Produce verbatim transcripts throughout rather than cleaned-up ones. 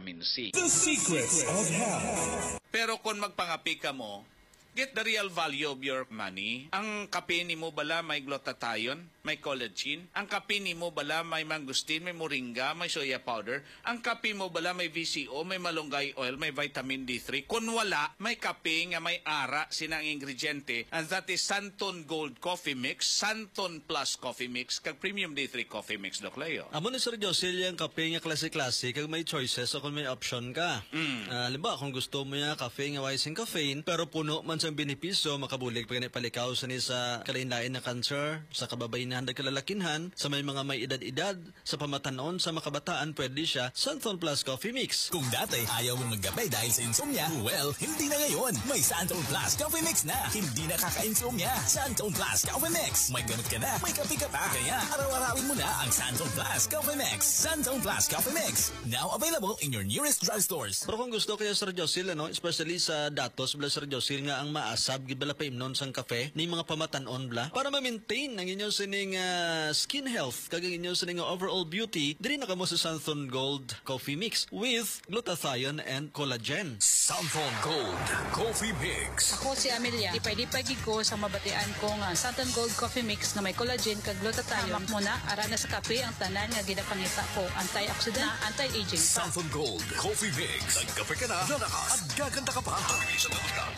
vitamin C. The Secrets of Health. Pero kung magpangapi ka mo, get the real value of your money. Ang kape nimo bala may glutathione, may collagen. Ang kape nimo bala may mangosteen, may moringa, may soya powder. Ang kape mo bala may V C O, may malunggay oil, may vitamin D three. Kung wala, may kape nga may ara sina ang ingrediente, and that is Santon Gold Coffee Mix, Santon Plus Coffee Mix, kag Premium D three Coffee Mix, Doc Leo. Amo ni Sir Josil, yung kape nga klase-klase, kag may choices o kung may option ka. Mm. Ah, halimbawa, kung gusto mo yung kape nga way sing caffeine, pero puno man sang benepisyo, makabulig pa gani palikaw sini sa kalain-lain na cancer, sa kababainahan, kalakinhan, sa may mga may edad-edad, sa pamatanon, sa makabataan, pwede siya, Santon Plus Coffee Mix. Kung dati ayaw mong magkape dahil sa insomnia, well, hindi na ngayon. May Santon Plus Coffee Mix na. Hindi na kaka-insomnia. Santon Plus Coffee Mix. May gamot ka na, may kape ka pa. Kaya araw-arawin mo na ang Santon Plus Coffee Mix. Santon Plus Coffee Mix. Now available in your nearest drugstores. Pero kung gusto kaya, Sir Josil, ano, especially sa datos bala, Sir Josil, nga ang maasab gid bala paimnon sang kape ni mga pamatanon bala, para ma-maintain ang inyo sining, ah, skin health kag ang inyo sining overall beauty, diri na kamo sa Santon Gold Coffee Mix with glutathione and collagen. Santon Gold Coffee Mix. Ako si Amelia. Lipay-lipay gid ko sa mabatian ko nga Santon Gold Coffee Mix nga may collagen kag glutathione. Hamak mo na, ara na sa kape ang tanan nga ginapangita ko. Antioxidant, anti-aging pa. Santon Gold Coffee Mix. Nagkape ka na, lalakas, at gaganda ka pa.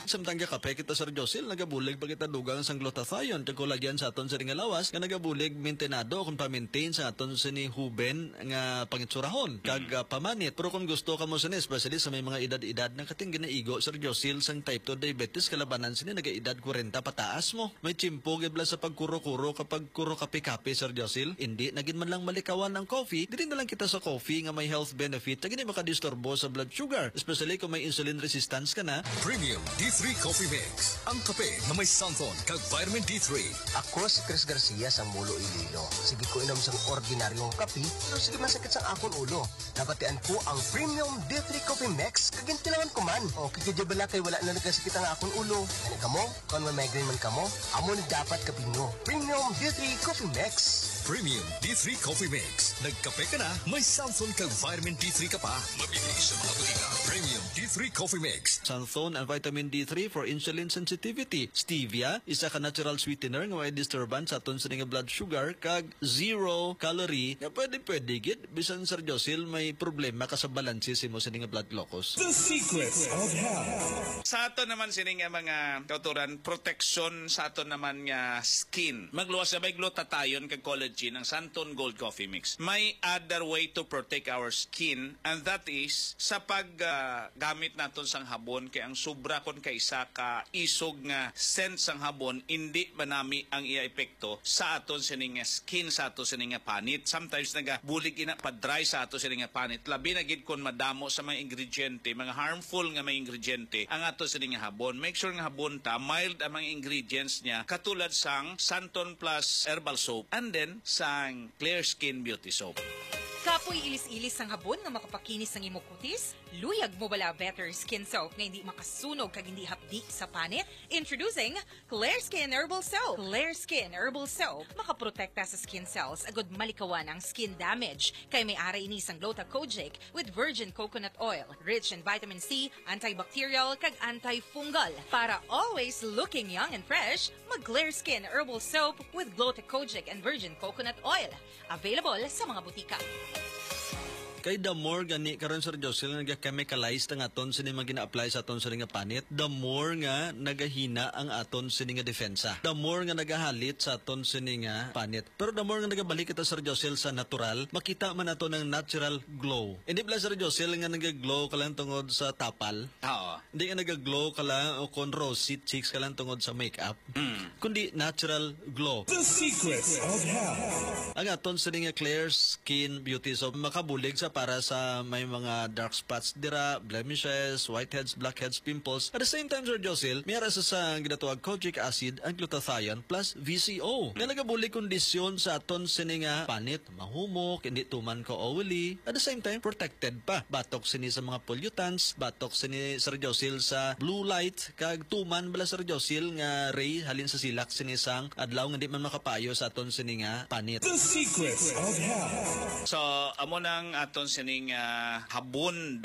Samtang gakape kita, Sir Josil, nagabulig pa kita dugang sang glutathione kag collagen sa aton sining nga lawas nga nagabulig maintenado kung pa-maintain sa aton sini huben nga pangitsurahon kag, ah, pamanit. Pero kung gusto ka mo sini, especially sa may mga edad-edad, nakating ginaigo, Sir Josil, sang type two diabetes, kalabanan sini nagaedad kwarenta pataas mo. May tiyempo gid bala sa pagkuro-kuro kapag kuro kape-kape, Sir Josil. Hindi na gid man lang malikawan ang coffee. Diri na lang kita sa coffee nga may health benefit, kag hindi makadisturbo sa blood sugar, especially kung may insulin resistance ka na. Premium D three Coffee Mix, ang kape nga may Santon kag vitamin D three. Ako si Chris Garcia sang Mulo, Iloilo. Sige ko inom sang ordinaryong kape, pero sige masakit sang akon ulo. Nabatian ko ang Premium D three Coffee Mix, kag gintilawan ko man. Okay ka di bala kay wala na nagasakit ang akon ulo. Ano kamo? Kung may migraine man kamo, amo ni dapat kape nyo. Premium D three Coffee Mix. Premium D three Coffee Mix. Nagkape ka na, may Santon kag vitamin D three ka pa. Mabibili sa mga butika. Premium D three Coffee Mix. Santon and vitamin D three for insulin sensitivity. Stevia, isa ka natural sweetener nga may disturbance sa aton sini nga blood sugar, kag zero calorie, nga pwede-pwede gid, bisan, Sir Josil, may problema ka sa balanse sa imo sini nga blood glucose. The Secrets of Health. Sa aton naman sini nga mga kauturan, proteksyon sa aton naman nga skin. Magluwas na may glutathione kag collagen ang Santon Gold Coffee Mix. May other way to protect our skin, and that is sa pag, ah, gamit naton sang habon, kay ang sobra kon kaisa ka isog nga scent sang habon, indi manami ang iya epekto sa aton sini nga skin, sa aton sini nga panit. Sometimes nagabulig ina pa-dry sa aton sini nga panit. Labi na gid kon madamo sa mga ingrediente, mga harmful nga mga ingrediente ang aton sini nga habon. Make sure nga habon ta, mild ang mga ingredients niya, katulad sang Santon Plus Herbal Soap and then sang Clear Skin Beauty Soap. Kapoy ilis-ilis sang habon nga makapakinis sang imo kutis? Luyag mo bala better skin soap nga hindi makasunog kag hindi hapdi sa panit? Introducing Clear Skin Herbal Soap. Clear Skin Herbal Soap makaprotekta sa skin cells agud malikawan ang skin damage, kay may ara ini sang Gluta Kojic with virgin coconut oil, rich in vitamin C, antibacterial, kag antifungal, para always looking young and fresh. Mag Clear Skin Herbal Soap with Gluta Kojic and virgin coconut oil. Available sa mga butika. Kay the more gani karon, Sir Josil, nga naga-chemicalized ang aton sini mga gina-apply sa aton sini nga panit, the more nga nagahina ang aton sini nga depensa. The more nga nagahalit sa aton sini nga panit. Pero the more nga nagabalik kita, Sir Josil, sa natural, makita man nato ng natural glow. Hindi bala, Sir Josil, nga nag-glow ka lang tungod sa tapal. Oo. Hindi nga nag-glow ka lang o kon rosy cheeks ka lang tungod sa makeup. Mm. Kundi natural glow. The Secrets of Health. Ang aton sini nga Clear Skin Beauty Soap makabulig sa para sa may mga dark spots dira, blemishes, whiteheads, blackheads, pimples. At the same time, Sir Josil, may ara sa, sa ginatawag kojic acid ang glutathione plus V C O nga nagabulig kondisyon sa aton sini nga panit, mahumok, hindi tuman ka oily. At the same time, protected pa batok sini sa mga pollutants, batok sini, Sir Josil, sa blue light, kag tuman bala, Sir Josil, nga ray halin sa silak sini sang adlaw nga di man makapayo sa aton sini nga panit. The Secrets of Health. So, amo nang aton sining, ah, habon